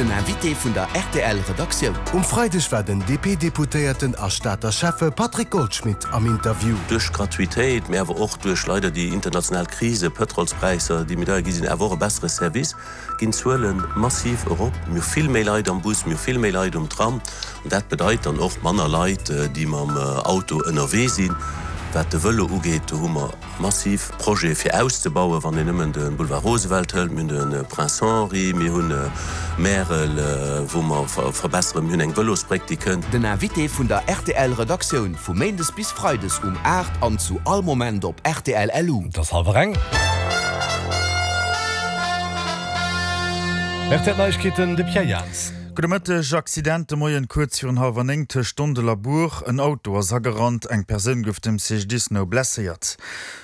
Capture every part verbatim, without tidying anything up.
Den Invité vun der RTL-Redaktioun. Um Freideg war den D P-Deputéierten a Stater Schäffe Patrick Goldschmidt am Interview. Duerch d'Gratuitéit, mee awer och duerch leider déi international Krise, Pëtrolspräisser, déi méi deier gi sinn, awer och e bessere Service, ginn d'Zuele massiv erop. Mir hu vill méi Leit am Bus, mir hu vill méi Leit um Tram an dat bedeit dann och manner Leit, déi mam Auto ënnerwee sinn. Wat de Vëlo ugeet, do hu mer massiv Projete fir auszebauen, wann een nëmmen de Boulevard Roosevelt hëlt, mir hunn de Prince Henri, mir hunn Märel, wou mer verbesseren, mir hunn eng Vëlosbréck, déi kënnt. Den Invité vun der R T L Redaktioun vu méindes bis freides um aacht an zu all Moment op R T L punkt L U. Et ass hallwer eng. R T L Neiegkeeten, de Pierre Jans. Gudde Mëtteg. Accident de Moien kuerz virun hallwer néng tëscht Dondel a Buer. En Auto ass agerannt, eng Persoun gouf dem C G D I S no blesséiert.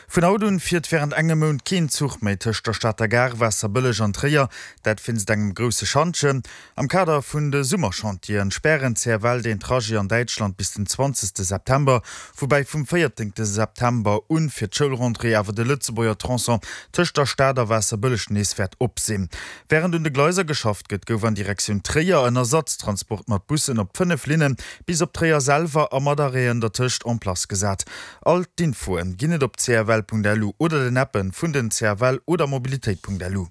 Vun haut un fiert wärend engem Mount keen Zuch méi tëscht der Stater Gare, Waasserbëlleg an Tréier, dat wéinst engem grousse Schantjen. Am Kader vun de Summerchantieren spären d'C F L deen Trajet an Däitschland bis den zwanzegste September, woubäi vum véierzéngte September un fir d'Schoulrentrée awer de Lëtzebuerger Tronçon tëscht der Stad a Waasserbëlleg nees wäert op sinn. Wärend un de Gleiser geschafft gëtt, gouf an Direktioun Tréier en Ersatztransport mat Bussen op fënnef Linne bis op Tréier selwer a mat Arrêten dertëscht en place gesat. All d'Infoen ginn et op C F L punkt L U oder den Appen vun den C F L oder Mobilitéit punkt L U.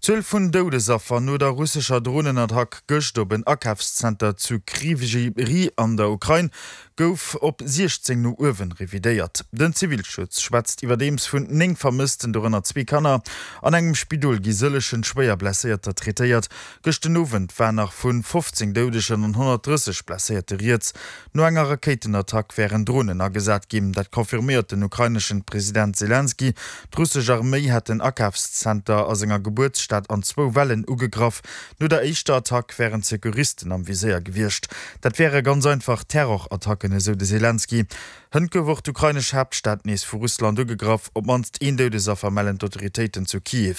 D'Zuel vun Doudesaffer no der russescher Dronenattack gëscht op en Akafszenter zu Krywyj Rih an der Ukrain gouf op siechzéng no uewen revidéiert. Den Zivilschutz schwätzt iwwerdeems vun néng Vermëssten, dorënner zwee Kanner. An engem Spidol gi sëllegen schwéier Blesséierter traitéiert. Gëscht den Owend war nach vu fofzéng Doudegen an honnertdrësseg Blesséierte rieds. No enger Rakéitenattack wären Dronen agesat ginn, dat confirméiert den ukraineschen President Selenskyj. D'russesch Arméi hätt den Akafszenter a senger Gebuertsstad an zwou Wellen ugegraff. No der éischter Attack wären Sekuristen am Viséier gewiescht. Dat wäre ganz einfach Terrorattacken, esou de Selenskyj. Hënt gouf och d'ukrainesch Haaptstad nees vu Russland ugegraff, op d'mannst een Doudesaffer mellen d'Autoritéiten zu Kiew.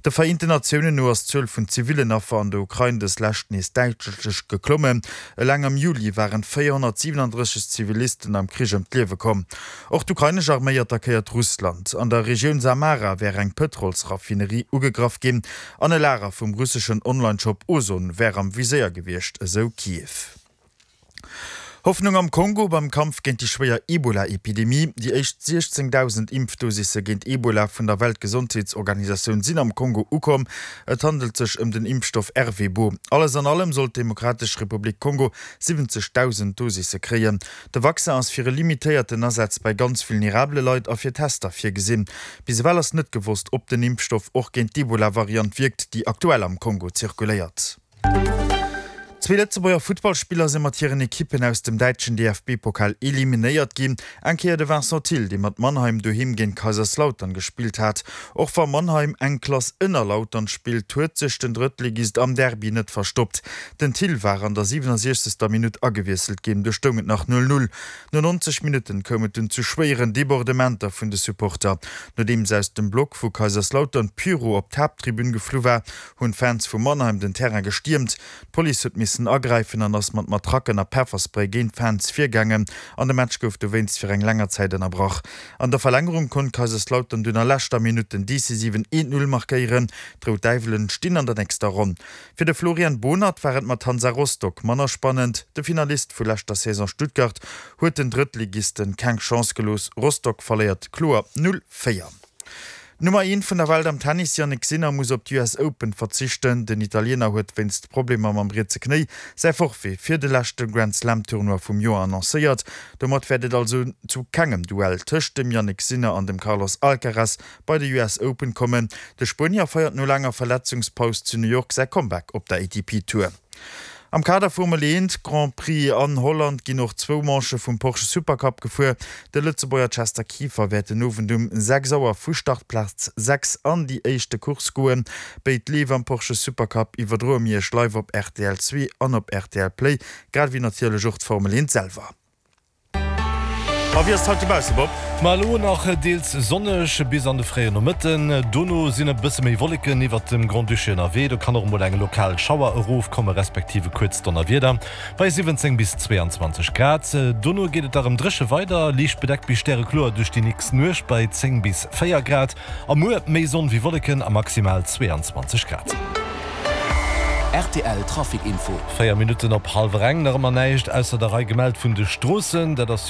De Vereenten Natiounen no ass d'Zuel vun zivillen Affer an der Ukrain dës Lescht nees däitlech geklommen. Eleng am Juli waren véierhonnertsiwenandrësseg Zivilisten am Krich ëm d'Liewe komm. Och d'ukrainesch Arméi attackéiert Russland. An der Regioun Samara wär eng Pëtrolsraffinerie ugegraff ginn an e Lager vum russeschen Onlineshop Ozon wär am Viséier gewiescht, esou Kiew. Hoffnung am Kongo beim Kampf géint déi schwéier Ebola-Epidemie. Déi éischt siechzéngdausend Impfdosisse géint Ebola vun der Weltgesondheetsorganisatioun sinn am Kongo ukomm. Et handelt sech ëm den Impfstoff Ervebo. Alles an allem soll d'Demokratesch Republik Kongo siwwenzegdausend Dosisse kréien. De Vaccin ass fir e limitéierten Asaz bei ganz vulnerabele Leit a fir Tester virgesinn. Bis ewell ass net gewosst, ob den Impfstoff och géint d'Ebola-Variant wierkt, déi aktuell am Kongo zirkuléiert. Zwee Lëtzebuerger Futtballspiller si mat hiren Ekippen aus dem däitschen D F B-Pokal eliminéiert ginn. Eng Kéier de Vincent Thill, dee mat Mannheim doheem géint Kaiserslautern gespillt hat. Och wa Mannheim eng Klass ënner Lautern spillt, huet sech den Drëttligist am Derby net verstoppt. Den Thill war an der siwenundsechzegster Minutt agewiesselt ginn, do stoung et nach null null. No neunzeg Minutten koum et dunn zu schwéieren Debordementer vun de Supporter. Nodeems aus dem Block vu Kaiserslautern Pyro op d'Haapttribün geflu war, hunn d'Fans vu Mannheim den Terrain gestiermt. D'Police huet missen agräifen an ass mat Matracken a Pefferspray géint d'Fans virgaangen an de Match gouf dowéinst fir eng länger Zäit ënnerbrach. An der Verlängerung konnt Kaiserslautern dunn a leschter Minutt den decisiven eent null markéieren. D'Rout Däiwelen stinn an der nächster Ronn. Fir de Florian Bohnert war et mat Hansa Rostock manner spannend. De Finalist vu leschter Saison Stuttgart huet den Drëttligisten keng Chance gelooss. Rostock verléiert kloer null véier. D'Nummer eent vun der Welt am Tennis Jannik Sinner muss op d'U S Open verzichten. Den Italiener huet wéinst Problemer mam rietse Knéi säi Forfait fir de leschte Grand Slam Tournoi vum Joer annoncéiert. Domat wäert et also zu kengem Duell tëscht dem Jannik Sinner an dem Carlos Alcaraz bei de U S Open kommen. De Spuenier feiert no laanger Verletzungspaus zu New York säi Comeback op der A T P Tour. Am Kader Formel eent Grand Prix an Holland ginn och zwou Manchë vum Porsche Supercup gefuer. De Lëtzebuerger Chester Kieffer wäert den Owend um sechs Auer vu Startplaz sechs an déi éischte Course goen. Béid Leef am Porsche Supercup iwwerdroe mir iech live op R T L zwee an op R T L Play, grad ewéi natierlech och d'Formel eent selwer. A wéi ass et haut dobausse, Bob? Ma elo nach deels sonneg bis an de fréien Nomëtten. Dono sinn e bësse méi Wolleken iwwert dem Grand-Duché ënnerwee. Do kann och emol eng lokal Schauer erofkomme respektiv e kuerzt Donnerwieder bei siwwenzéng bis zweeanzwanzeg Grad. Dono geet et da rëm dréche weider, liicht bedeckt bis stärekloer duerch déi nächst Nuecht bei zéng bis véier Grad. A muer méi Sonn wéi Wolleken a maximal zweeanzwanzeg Grad. RTL Traficinfo. Véier Minutten op hallwer eng, nach ëmmer näischt ausser der Rei gemellt vun de Stroossen. Dat ass jo.